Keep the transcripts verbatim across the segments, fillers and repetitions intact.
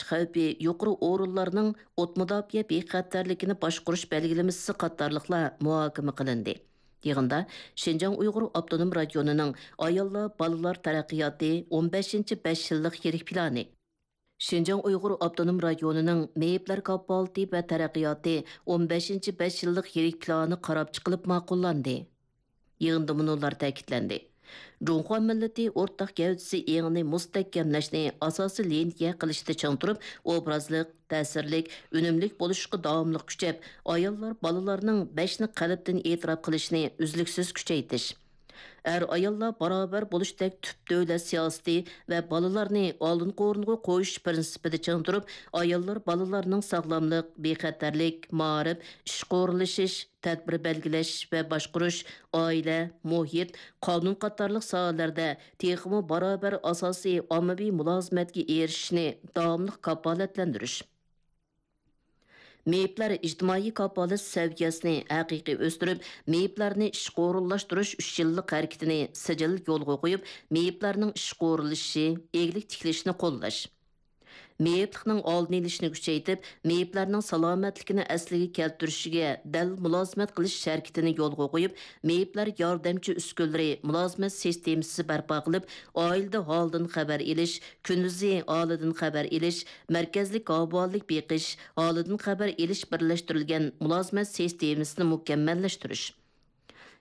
ئاچقۇچ خەۋپى يۇقىرى ئورۇنلارنىڭ ئوت مۇداپىئە بىخەتەرلىكىنى باشقۇرۇش بەلگىلىمىسى قاتارلىقلار مۇھاكىمە قىلىندى. يىغىندا شىنجاڭ ئۇيغۇر ئاپتونوم رايونىنىڭ ئاياللار، بالىلار تەرەققىياتى ئون بەشىنچى بەش يىللىق يىرىك پىلانى، شىنجاڭ ئۇيغۇر ئاپتونوم رايونىنىڭ مېيىپلەر كاپالىتى ۋە تەرەققىياتى ئون بەشىنچى بەش يىللىق يىرىك پىلانى قاراپ چىقىلىپ ماقۇللاندى. يىغىندا مۇنۇلار تەكىتلەندى: جۇڭخۇا مىللىتى ئورتاق گەۋدىسى ئېڭىنى مۇستەھكەملەشنى ئاساسىي لىنىيە قىلىشتا چىڭ تۇرۇپ، ئوبرازلىق، تەسىرلىك، ئۈنۈملۈك بولۇشقا داۋاملىق كۈچەپ، ئاياللار، بالىلارنىڭ بەشنى قەلبتىن ئېتىراپ قىلىشىنى ئۈزلۈكسىز كۈچەيتىش، ئەر-ئاياللار باراۋەر بولۇشتەك تۈپ دۆلەت سىياسىتى ۋە بالىلارنى ئالدىنقى ئورۇنغا قويۇش پىرىنسىپىدا چىڭ تۇرۇپ، ئاياللار، بالىلارنىڭ ساغلاملىق، بىخەتەرلىك، مائارىپ، ئىشقا ئورۇنلىشىش، تەدبىر بەلگىلەش ۋە باشقۇرۇش، ئائىلە، مۇھىت، قانۇن قاتارلىق ساھەلەردە تېخىمۇ باراۋەر ئاساسىي ئاممىۋى مۇلازىمەتكە ئېرىشىشنى داۋاملىق كاپالەتلەندۈرۈش. مېيىپلەر ئىجتىمائىي كاپالەت سەۋىيەسىنى ھەقىقىي ئۆستۈرۈپ، مېيىپلەرنى ئىشقا ئورۇنلاشتۇرۇش ئۈچ يىللىق ھەرىكىتىنى سىجىل يولغا قويۇپ، مېيىپلەرنىڭ ئىشقا ئورۇنلىشىشى، ئىگىلىك تىكلىشىنى قوللاش، مېيىپلىقنىڭ ئالدىنى ئېلىشنى كۈچەيتىپ، مېيىپلەرنىڭ سالامەتلىكىنى ئەسلىگە كەلتۈرۈشىگە دەل مۇلازىمەت قىلىش ھەرىكىتىنى يولغا قويۇپ، مېيىپلەر ياردەمچى ئۈسكۈنىلىرى مۇلازىمەت سىستېمىسى بەرپا قىلىپ، ئائىلىدە ھالدىن خەۋەر ئېلىش، كۈندۈزى ئائىلىدىن خەۋەر ئېلىش، مەركەزلىك ئاۋۇ بالىلىق بېقىش، ھالىدىن خەۋەر ئېلىش بىرلەشتۈرۈلگەن مۇلازىمەت سىستېمىسىنى مۇكەممەللەشتۈرۈش.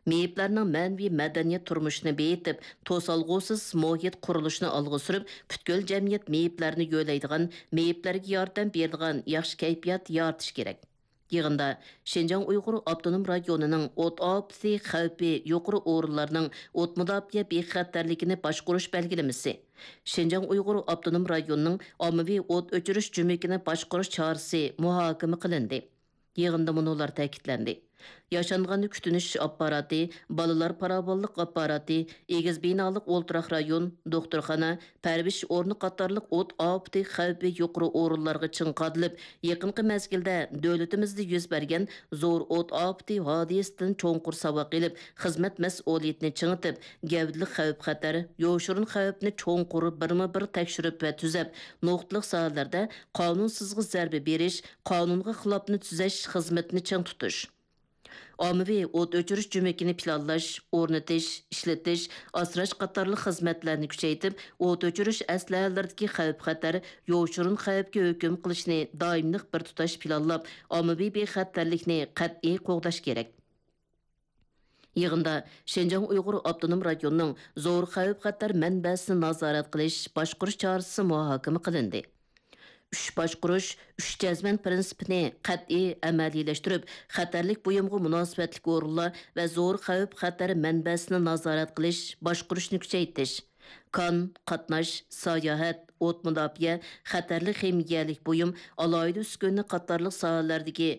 مېيىپلەرنىڭ مەنىۋى مەدەنىيەت تۇرمۇشىنى بېيىتىپ، توسالغۇسىز مۇھىت قۇرۇلۇشىنى ئالغا سۈرۈپ، پۈتكۈل جەمئىيەت مېيىپلەرنى يۆلەيدىغان، مېيىپلەرگە ياردەم بېرىدىغان ياخشى كەيپىيات يارىتىش كېرەك. يىغىندا شىنجاڭ ئۇيغۇر ئاپتونوم رايونىنىڭ ئوت ئاپىتى خەۋپى يۇقىرى ئورۇنلارنىڭ ئوت مۇداپىئە بىخەتەرلىكىنى باشقۇرۇش بەلگىلىمىسى، شىنجاڭ ئۇيغۇر ئاپتونوم رايونىنىڭ ئاممىۋى ئوت ئۆچۈرۈش جۈمىكىنى باشقۇرۇش چارىسى مۇھاكىمە قىلىندى. يىغىندا مۇنۇلار تەكىتلەندى: ياشانغاننى كۈتۈنۈش ئاپپاراتى، بالىلار پاراۋانلىق ئاپپاراتى، ئېگىز بىنالىق ئولتۇراق رايون، دوختۇرخانا، پەرۋىش ئورنى قاتارلىق ئوت ئاپىتى خەۋپى يۇقىرى ئورۇنلارغا چىڭ قادىلىپ، يېقىنقى مەزگىلدە دۆلىتىمىزدە يۈز بەرگەن زور ئوت ئاپىتى ھادىسىسىدىن چوڭقۇر ساۋاق ئېلىپ، خىزمەت مەسئۇلىيىتىنى چىڭىتىپ، گەۋدىلىك خەۋپ-خەتەر، يوشۇرۇن خەۋپنى چوڭقۇر بىرمۇ بىر تەكشۈرۈپ ۋە تۈزەپ، نۇقتىلىق ساھەلەردە قانۇنسىزغا زەربە بېرىش، قانۇنغا خىلاپنى تۈزەش خىزمىتىنى چىڭ تۇتۇش. ئاممىۋى ئوت ئۆچۈرۈش جۈمىكىنى پىلانلاش، ئورنىتىش، ئىشلىتىش، ئاسراش قاتارلىق خىزمەتلەرنى كۈچەيتىپ، ئوت ئۆچۈرۈش ئەسلىھەلىرىدىكى خەۋپ-خەتەر، يوشۇرۇن خەۋپكە ھۆكۈم قىلىشنى دائىملىق بىر تۇتاش پىلانلاپ، ئاممىۋى بىخەتەرلىكنى قەتئىي قوغداش كېرەك. يىغىندا شىنجاڭ ئۇيغۇر ئاپتونوم رايونىنىڭ زور خەۋپ-خەتەر مەنبەسىنى نازارەت قىلىش، باشقۇرۇش چارىسى مۇھاكىمە قىلىندى. ئۈچ باشقۇرۇش، ئۈچ جەزمەن پىرىنسىپىنى قەتئىي ئەمەلىيلەشتۈرۈپ، خەتەرلىك بۇيۇمغا مۇناسىۋەتلىك ئورۇنلار ۋە زور خەۋپ-خەتەر مەنبەسىنى نازارەت قىلىش، باشقۇرۇشنى كۈچەيتىش، كان، قاتناش، ساياھەت، ئوت مۇداپىئە، خەتەرلىك خىمىيەلىك بۇيۇم، ئالاھىدە ئۈسكۈنە قاتارلىق ساھەلەردىكى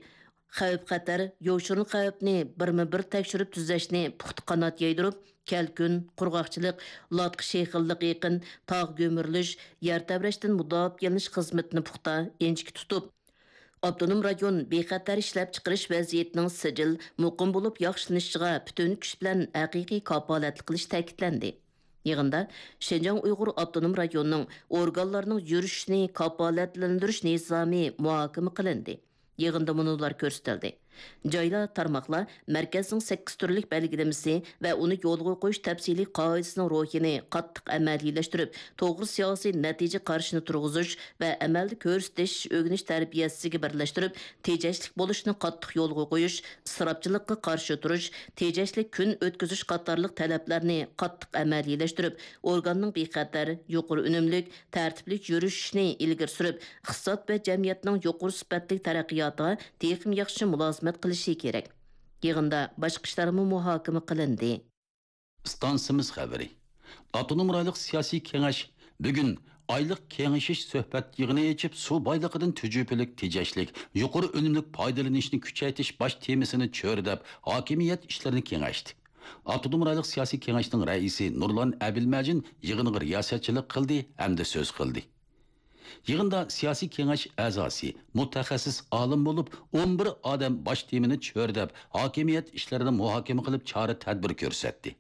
خەۋپ-خەتەر، يوشۇرۇن خەۋپنى بىرمۇ بىر تەكشۈرۈپ تۈزەشنى پۇختا قانات يايدۇرۇپ، كەلكۈن، قۇرغاقچىلىق، لاتقا شېخىللىق ئېقىن، تاغ گۈمۈرۈلۈش، يەر تەۋرەشتىن مۇداپىئەلىنىش خىزمىتىنى پۇختا، ئىنچىكە تۇتۇپ، ئاپتونوم رايون بىخەتەر ئىشلەپچىقىرىش ۋەزىيىتىنىڭ سىجىل، مۇقىم بولۇپ ياخشىلىنىشىغا پۈتۈن كۈچ بىلەن ھەقىقىي كاپالەتلىك قىلىش تەكىتلەندى. يىغىندا شىنجاڭ ئۇيغۇر ئاپتونوم رايونىنىڭ ئورگانلارنىڭ يۈرۈشۈشىنى كاپالەتلەندۈرۈش نىزامى مۇھاكىمە قىلىندى. يىغىندا مۇنۇلار كۆرسىتىلدى: جايلار، تارماقلار مەركەزنىڭ سەككىز تۈرلۈك بەلگىلىمىسى ۋە ئۇنى يولغا قويۇش تەپسىلىي قائىدىسىنىڭ روھىنى قاتتىق ئەمەلىيلەشتۈرۈپ، توغرا سىياسىي نەتىجە قارىشىنى تۇرغۇزۇش ۋە ئەمەلدە كۆرسىتىش ئۆگىنىش تەربىيەسىگە بىرلەشتۈرۈپ، تېجەشلىك بولۇشنى قاتتىق يولغا قويۇش، ئىسراپچىلىققا قارشى تۇرۇش، تېجەشلىك كۈن ئۆتكۈزۈش قاتارلىق تەلەپلەرنى قاتتىق ئەمەلىيلەشتۈرۈپ، ئورگاننىڭ بىخەتەر، يۇقىرى ئۈنۈملۈك، تەرتىپلىك يۈرۈشۈشىنى ئىلگىرى سۈرۈپ، ئىقتىساد ۋە جەمئىيەتنىڭ يۇقىرى سۈپەتلىك تەرەققىياتىغا تېخىمۇ ياخشى مۇلازىمەت قىلىشى كېرەك. يىغىندا باشقا ئىشلارمۇ مۇھاكىمە قىلىندى. ئىستانسىمىز خەۋىرى. ئاپتونوم رايونلۇق سىياسىي كېڭەش بۈگۈن ئايلىق كېڭىشىش سۆھبەت يىغىنى ئېچىپ، سۇ بايلىقىدىن تۈجۈپىلىك، تېجەشلىك، يۇقىرى ئۈنۈملۈك پايدىلىنىشنى كۈچەيتىش باش تېمىسىنى چۆرىدەپ، ھاكىمىيەت ئىشلىرىنى كېڭەشتى. ئاپتونوم رايونلۇق سىياسىي كېڭەشنىڭ رەئىسى نۇرلان ئەبىلمەجىن يىغىنغا رىياسەتچىلىك قىلدى ھەمدە سۆز قىلدى. يىغىندا سىياسىي كېڭەش ئەزاسى، مۇتەخەسسىس ئالىم بولۇپ، ئون بىر ئادەم باش تېمىنى چۆرىدەپ، ھاكىمىيەت ئىشلىرىنى مۇھاكىمە قىلىپ، چارە-تەدبىر كۆرسەتتى.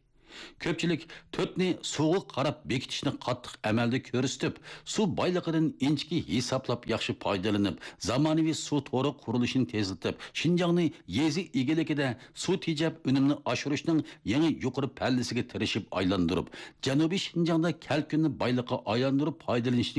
كۆپچىلىك تۆتنى سۇغا قاراپ بېكىتىشنى قاتتىق ئەمەلدە كۆرسىتىپ، سۇ بايلىقىدىن ئىنچىكە ھېسابلاپ ياخشى پايدىلىنىپ، زامانىۋى سۇ تورى قۇرۇلۇشىنى تېزلىتىپ، شىنجاڭنى يېزا ئىگىلىكىدە سۇ تېجەپ ئۈنۈمنى ئاشۇرۇشنىڭ يېڭى يۇقىرى پەللىسىگە تىرىشىپ ئايلاندۇرۇپ، جەنۇبىي شىنجاڭدا كەلكۈننى بايلىققا ئايلاندۇرۇپ پايدىلىنىشنى